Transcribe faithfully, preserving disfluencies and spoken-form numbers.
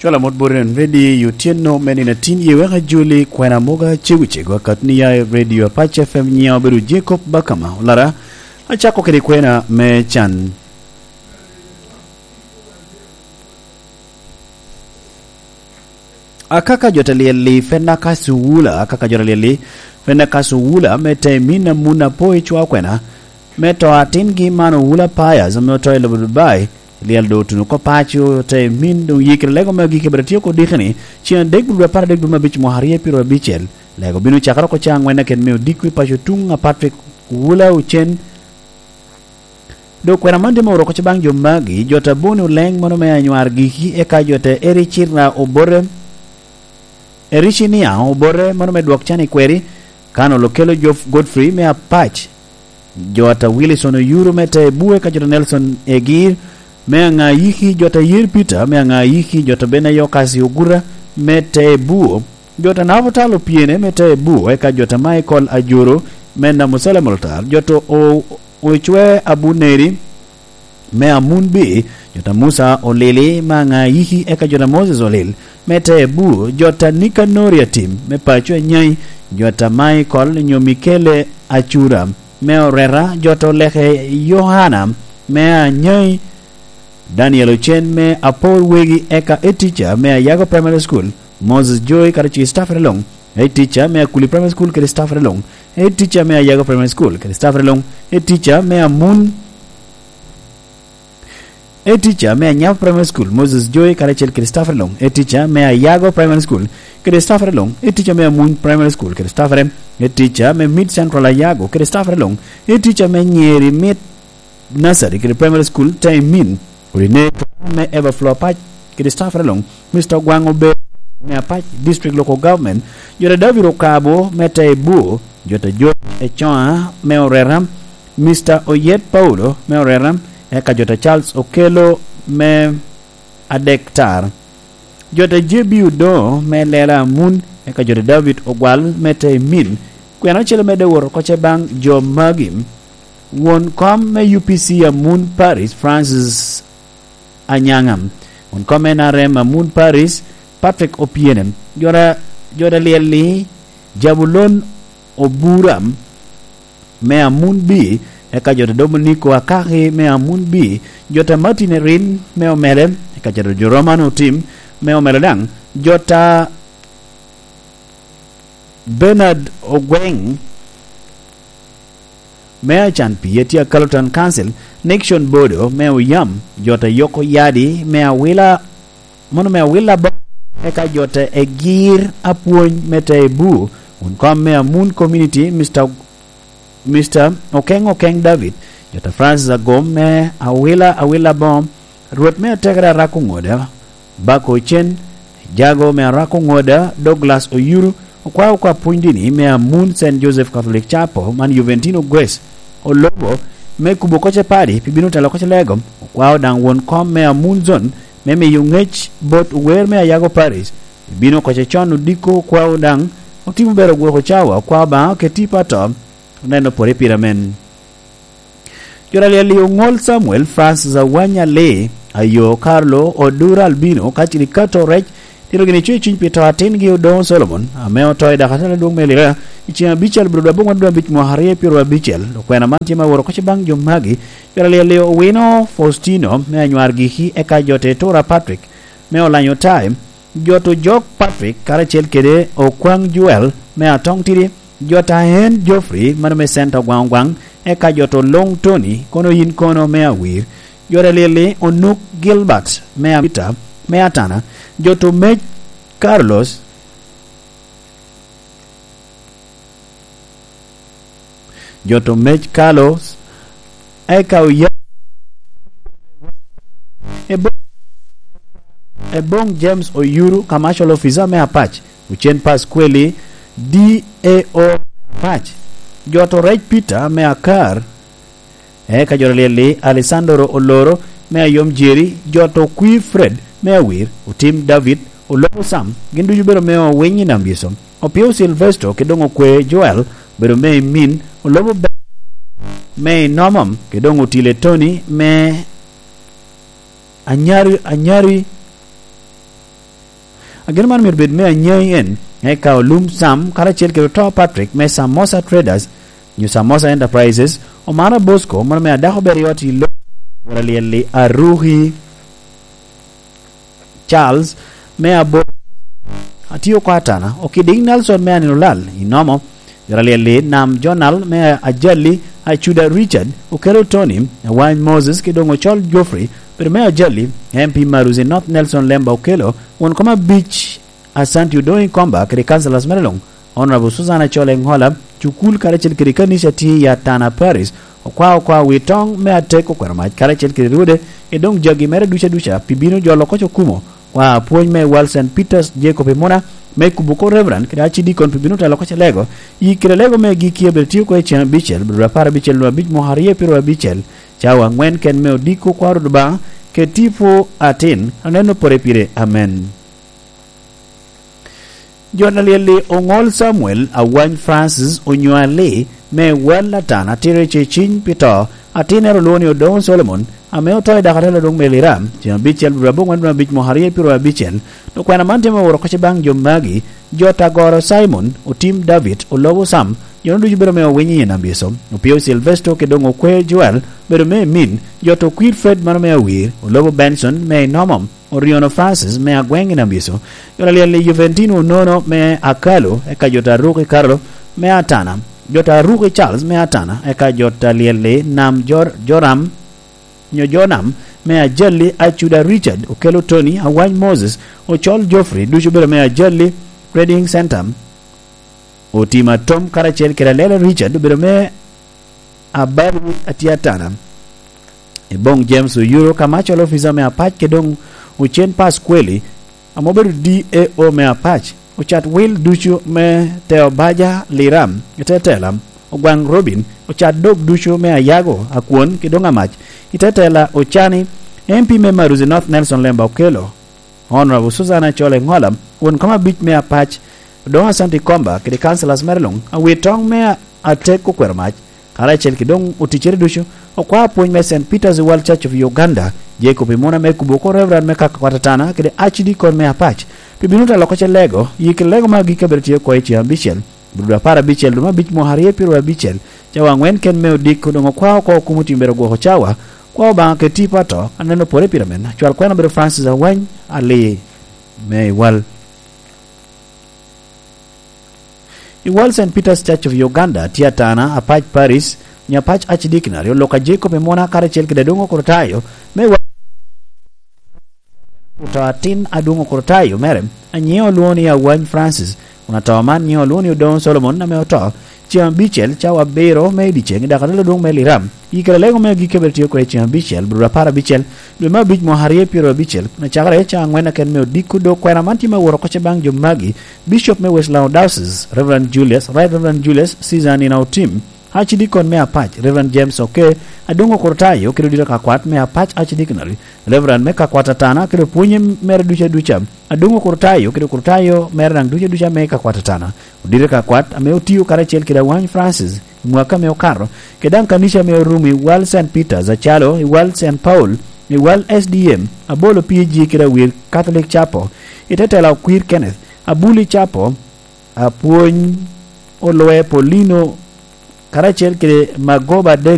Ka lamot bot en ready, otyeno me nino atin ye wek ajoli kwena moga cego cego, akatni ya i Radio Apac F M, nyiŋa obedo Jacob Bakama Olara. Acako kede kwena me can. Akaka jo te lyel-li, Fenaka Cuwula, akaka jo te lyel-li, Fenaka Cuwula, me te min a mun apo i cwa kwena, me to atingi man Owula Pius, ame oto i lobo Dubai, lyel doŋ otuno oko paco, te min doŋ yikere lego me agikki, bene tye oko diki ni, ceŋ adek dwe apar adek dwe me abic mwaka aryo pyeraryo abicel, lego bino cakere oko cawa aŋwen akit me odiko i paco tuŋ a Patrick Owula Ocen. Dok kwena man tye me oro oko baŋ jo magi, jo ta Boni Oleng, mano me anywar giki, eka jo ta Ericina Obote, Ericinia Obote, mano me dwok can i kweri, Kano Lokelo Jof-, Godfrey me Apac, jo ta Wilson Oyuru me ta Ebu, eka jo ta Nelson Egir me Aŋayiki, jo ta Yer Peter me Aŋayiki, jo ta Benayo Kasi Oguta me ta Ebu, jo ta Nabutal Opiene me ta Ebu, eka jo ta Michael Ajuru me Namusala Molotar, jo ta O-, Ocwe Abuneri me Amunbi, jo ta Musa Olili me Aŋayiki, eka jo ta Moses Olil me ta Ebu, jo ta Nikanori Atim me paco Anyai, jo ta Michael nyo Mikele Acura me Oreta, jo ta Oleke Yohana me Anyai, Daniel Ocen me Apor Wegi, eka Etica me Ayago Primary School, Moses Joy kadi ci staff luŋ, Etica me Akuli Primary School kede staff luŋ, Etica me Ayago Primary School kede staff luŋ, Etica me Amun, Etica me Anyabo Primary School, Moses Joy karacel kede staff luŋ, Etica me Ayago Primary School kede staff luŋ, Etica me Amuny Primary School kede staff, Etica me Mid Central Ayago kede staff luŋ, Etica me Nyeri Mid Nursery kede Primary School, Taimin, Coordinator me Everflow Apac kede staff luŋ, Mister Ogwaŋ Obe me Apac District Local Government, jo ta David Okabo me Taibu, jo ta Job Ecoa me Oreta, Mister Oyet Paulo me Oreta, eka jo ta Charles Okelo me Adektar, jo ta J B Odoŋo me Lela Amun, eka jo ta David Ogwal me Taimin. Kwena ocele medde wot oko ce baŋ jo magi. Won kom me U P C Amun Paris, Francis Anyaŋa. Won kom N R M Amun Paris, Patrick Opiene. Jo ta, jo ta Lyel-li, Jabulon Obura me Amun B, eka jo ta Dominiko Akaki me Amun B, jo ta Martin Erin me Omele, eka jo ta Joroman Otim me Omele daŋ, jo ta Bernard Ogweng me Acan Pi, Etia Carlton Council, Nixon Bodo me Oyam, jo ta Yoko Yadi me Awila, mono me Awila Bo, eka jo ta Egir Apwony me ta Ebu, won kom me Amun Community, Mister, Mister Okeng Okeng David, jo ta Francis Agom me Awila, Awila Bo, Rwot me Atekere Arako Ŋoda, Bako Ocen, Jago me Arako Ŋoda, Douglas Oyuru, okwao oko apwony dini me Amun Saint Joseph Catholic Chapel, man Juventino Grace, olobo me kubo oko ce padi pi bino telo oko ce lego, okwao daŋ won kom me Amun Zone me miyo ŋec bot ower me Ayago Parish, pi bino oko ce con odiko, okwao daŋ otimo bero gwoko cawa, okwao Obaŋa oketi i pato, oneno pwod i pira men. Jo ta Lyel-li Oŋol Samuel, Francis Awanya Lee, Ayo Carlo, Odura Albino, ka cili Kato Rec, tito gini cuny cuny pi to atingi Odoŋo Solomon, ame oto i dakatala adwoŋ me Lira, i ceŋ abicel bro dwe aboŋwen dwe abic mwaka aryo pyeraryo abicel. Okwena man tye ma woro koc baŋ jo magi. Jo ta Lyel-li Owino Faustino, me Anywar Giki, eka jo ta Etura Patrick, me Olanyo Tai, jo ta Ojok Patrick, karacel kede Okwaŋ Joel, me Atong Tidi, jo ta Hen Geoffrey, mano me Center Ogwaŋ Ogwaŋ, eka jo ta Oloŋ Tony, kono yin kono me Awir, jo ta Lyel-li Onuk Gilbert, me Amita, me Atana, jo ta Omec Carlos, jo ta Omec Carlos, eka oya, Ebo-, Eboŋ James Oyuru, Commercial Officer me Apac, Ocen Pasqueli, D A O Apac, jo ta Orec Peter me Akar, eka jo ta Lyel-li Alessandro Oloro me Ayom Jerry, jo ta Okwi Fred me Awir, Otim David, Olobo Sam, gin ducu obedo me Owiny i Nam Biso. Opio Silvestro kede doŋ Okwe Joel obedo me i Min, Olobo Be-, me i Nomom, kede doŋ Otile Tony me Anyari, Anyari, Ageno man myero bed me anyaŋi en, eka Olum Sam karacel kede Oto Patrick me Samosa Traders, nyo Samosa Enterprises, Omara Bosco, mano me adako ber i ot i lo, wot alyel-li Aruki Charles me Abo-, atio oko Atana, Okidiŋ Nelson me Anino Lal, Inomo, wot alyel-li Nam Jonal me Ajali, Acuda Richard, Okelo Tony, Awany Moses, ki doŋ Ocol Geoffrey, bedo me Ajali, M P Maruzi North Nelson Lemba Okelo, won kom abic, Asanti Odongo Ikomba kede councillors mere luŋ, Honorable Susan Acol Eŋola, cukul karacel kede kanica tye i Atana Parish, okwa okwa wi toŋ me atek okwero mac karacel kede rwode, i doŋ jagi mere duca duca pi bino jolo koc okumo, kwa apwony me Wal Saint Peters Jacob Imuna, me kubo ko Reverend kede Archdeacon pi bino telo koc alego, i kede lego me gikki abiro tio ko i ceŋ abicel, biro apar abicel nwa abic mwaka aryo pyero abicel, cawa aŋwen ken me odiko kwa Rwot Obaŋa, kede tipo atin, aneno pore pire. Amen. Jot alyel-li Oŋol Samuel, Awany Francis, onyo Ali, me Wal Atana, tito i ceciny pi to, atinnere olwoŋo ni Odoŋo Solomon, ame oto i dakatela doŋ me Liram, ceŋ abicel dwe aboŋwen dwe abic mwaka aryo pyero abicel. Dok kwena man tye me woro koc baŋ jo magi, jot Agoro Simon, Otim David, Olobo Sam, jo ducu bedo me owiny i Nambyeco, Opio Silvesto, kede doŋ Okwe Joel, bedo me Emin, jot Okwir Fred mano me Awir, Olobo Benson, me Inomom, Oriono Francis me Agweŋ i Nambyeco, jot alyel-li Juventino Onono me Akalo, eka jot Aruki Carlo me Atana, jot Aruki Charles me Atana, eka jot alyel-li Nam Jor-, Joram, nyo Jonam me Ajali, Acuda Richard, Okelo Tony, Awany Moses, Ocol Geoffrey, ducu bedo me Ajali Trading Center, Otim Atom karacel kede Alela Richard, obedo me Abali atye Atana. Eboŋ James Oyuro, Kamacol officer me Apac, kede doŋ Ocen Pasqueli, ame obedo D A O me Apac, ocat wil ducu me Teo Baja Liram, i te tela, Ogwaŋ Robin, ocat dog ducu me Ayago, Akwon, kede doŋ Amac, i te tela, Ocani, M P me Maruzi North Nelson Lemba Okelo, Honorable Susan Acol Eŋola, won kom abic me Apac, Odoŋo Asante Komba, kede councillors mere luŋ, awi toŋ me atek okwero mac, karacel kede doŋ oticcere ducu, okwa apwony me Saint Peter's World Church of Uganda, Jacob Imuna me kubo oko Reverend me Kakakwat Atana, kede Archdeacon me Apac, pi bino telo oko ce lego, yi kede lego me agikki a bedo tye oko i ceŋ abicel, Brudo apar abicel, dwe me abic mwaka aryo pyero abicel, cawa aŋwen ken me odiko doŋ okwa oko okum otim bedo gwoko cawa, kwa Obaŋa kede tipo ato, aneno pore pire men. Acwal kwena obedo Francis Awany, Ali, me Iwal. Iwal Saint Peter's Church of Uganda, tye Atana, Apac Parish, nyo Apac Archdeaconry, olok a Jacob Imuna karacel kede Adwoŋ Okrutayo, me Iwal. Oto atin Adwoŋ Okrutayo mere, a nyiŋe olwoŋo ni Awany Francis, kun ato man nyiŋe olwoŋo ni Odoŋo Solomon ame oto, ceŋ abicel, cawa abiro me i dyeceŋ i dakatela adwoŋ me Liram. I kare lego me agikki a bedo tye oko i ceŋ abicel, brudo apar abicel, dwe me abic mwaka aryo pyero abicel, kun acakere cawa aŋwen aken me odiko dok kwena man tye me woro oko ce baŋ jo magi, Bishop me West Lango Diocese, Reverend Julius, Right Reverend Julius Caesar Nina Otim, Archdeacon me Apac, Reverend James Oke, Adwoŋ Okrutayo kede odito ka kwat me Apac Archdeaconry, Reverend me ka kwat Atana kede opwonye mere duca duca, Adwoŋ Okrutayo kede Okrutayo mere daŋ duca duca me ka kwat Atana, odito ka kwat ame otio karacel kede Awany Francis i mwaka ame okato, kede daŋ kanica ame orumo i Wal Saint Peter's acalo i Wal Saint Paul, i Wal S D M, Abolo P G kede Awir Catholic Chapel, i te tela Okwir Kenneth, Abuli Chapel, Apwony Olwe Paulino, karacel kede Magoba Dennis.